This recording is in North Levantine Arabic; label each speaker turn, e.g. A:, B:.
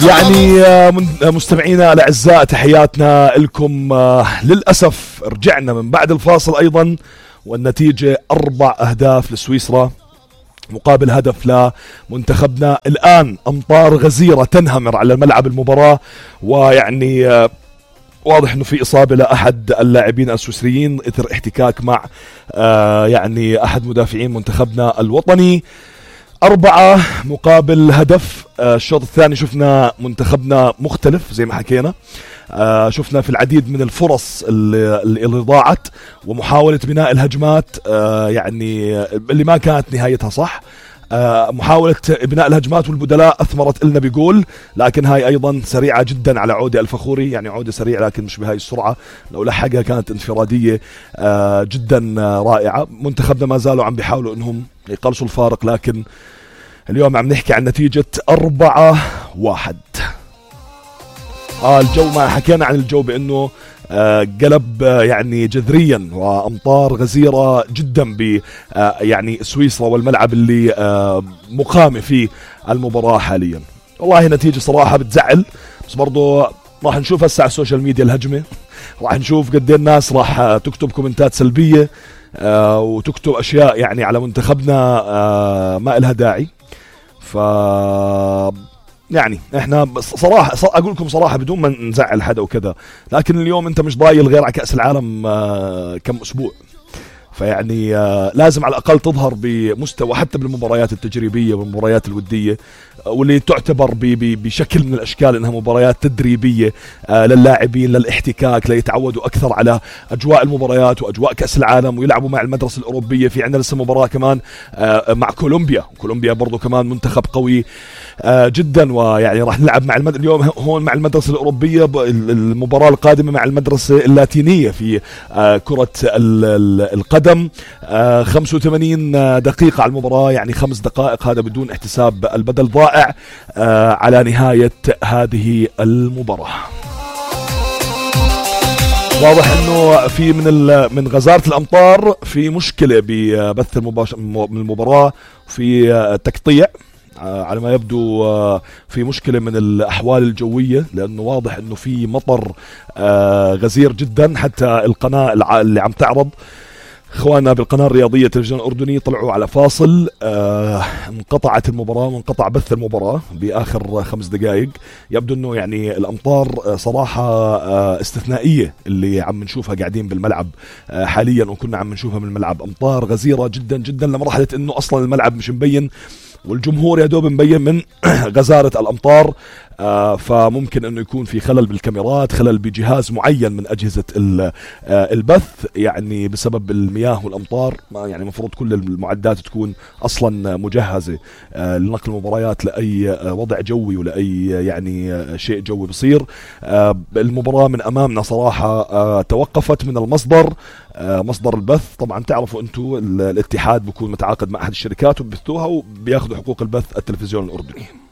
A: يعني مستمعينا الأعزاء تحياتنا لكم. للأسف رجعنا من بعد الفاصل أيضا، والنتيجة 4 أهداف لسويسرا مقابل هدف لمنتخبنا. الآن أمطار غزيرة تنهمر على ملعب المباراة، ويعني واضح أنه في إصابة لأحد اللاعبين السويسريين إثر احتكاك مع يعني أحد مدافعين منتخبنا الوطني. 4 مقابل هدف. الشوط الثاني شفنا منتخبنا مختلف زي ما حكينا، شفنا في العديد من الفرص اللي ضاعت ومحاولة بناء الهجمات يعني اللي ما كانت نهايتها صح. محاولة بناء الهجمات والبدلاء أثمرت لنا بجول، لكن هاي أيضا سريعة جدا على عودة الفخوري، يعني عودة سريعة لكن مش بهاي السرعة. لو لحقها كانت انفرادية جدا رائعة. منتخبنا ما زالوا عم بيحاولوا انهم يقلصوا الفارق، لكن اليوم عم نحكي عن نتيجة 4-1. الجو ما حكينا عن الجو بأنه قلب يعني جذريا، وأمطار غزيرة جدا ب يعني سويسرا والملعب اللي مقامة فيه المباراة حاليا. والله نتيجة صراحة بتزعل، بس برضو راح نشوف هسه على السوشيال ميديا الهجمة، راح نشوف قد ايه الناس راح تكتب كومنتات سلبية وتكتب أشياء يعني على منتخبنا ما إلها داعي. ف يعني احنا صراحة اقول لكم صراحة بدون ما نزعل حدا وكذا، لكن اليوم انت مش ضايل غير على كأس العالم كم اسبوع، فيعني لازم على الأقل تظهر بمستوى حتى بالمباريات التجريبية والمباريات الودية، واللي تعتبر بشكل من الأشكال إنها مباريات تدريبية للاعبين للاحتكاك، ليتعودوا أكثر على أجواء المباريات وأجواء كأس العالم، ويلعبوا مع المدرسة الأوروبية. في عندنا لسه مباراة كمان مع كولومبيا برضو كمان منتخب قوي جدا، ويعني راح نلعب مع اليوم هون مع المدرسة الأوروبية، المباراة القادمة مع المدرسة اللاتينية في كرة القدم. 85 دقيقة على المباراة، يعني 5 دقائق، هذا بدون احتساب البدل ضائع على نهاية هذه المباراة. واضح انه في من غزارة الامطار في مشكلة ببث المباراة، في تقطيع على ما يبدو، في مشكلة من الأحوال الجوية، لأنه واضح أنه في مطر غزير جدا. حتى القناة اللي عم تعرض اخواننا بالقناة الرياضية التلفزيون الأردني طلعوا على فاصل، انقطعت المباراة وانقطع بث المباراة بآخر 5 دقائق. يبدو أنه يعني الأمطار صراحة استثنائية اللي عم نشوفها قاعدين بالملعب حاليا، وكنا عم نشوفها من الملعب. أمطار غزيرة جدا جدا لمرحلة أنه أصلا الملعب مش مبين، والجمهور يا دوب مبين من غزارة الأمطار. فممكن أنه يكون في خلل بالكاميرات، خلل بجهاز معين من أجهزة البث، يعني بسبب المياه والأمطار. يعني مفروض كل المعدات تكون أصلا مجهزة لنقل المباريات لأي وضع جوي ولأي يعني شيء جوي بصير. المباراة من أمامنا صراحة توقفت من المصدر، مصدر البث. طبعا تعرفوا أنتوا الاتحاد بيكون متعاقد مع أحد الشركات وبيبثوها وبياخذوا حقوق البث التلفزيون الأردني.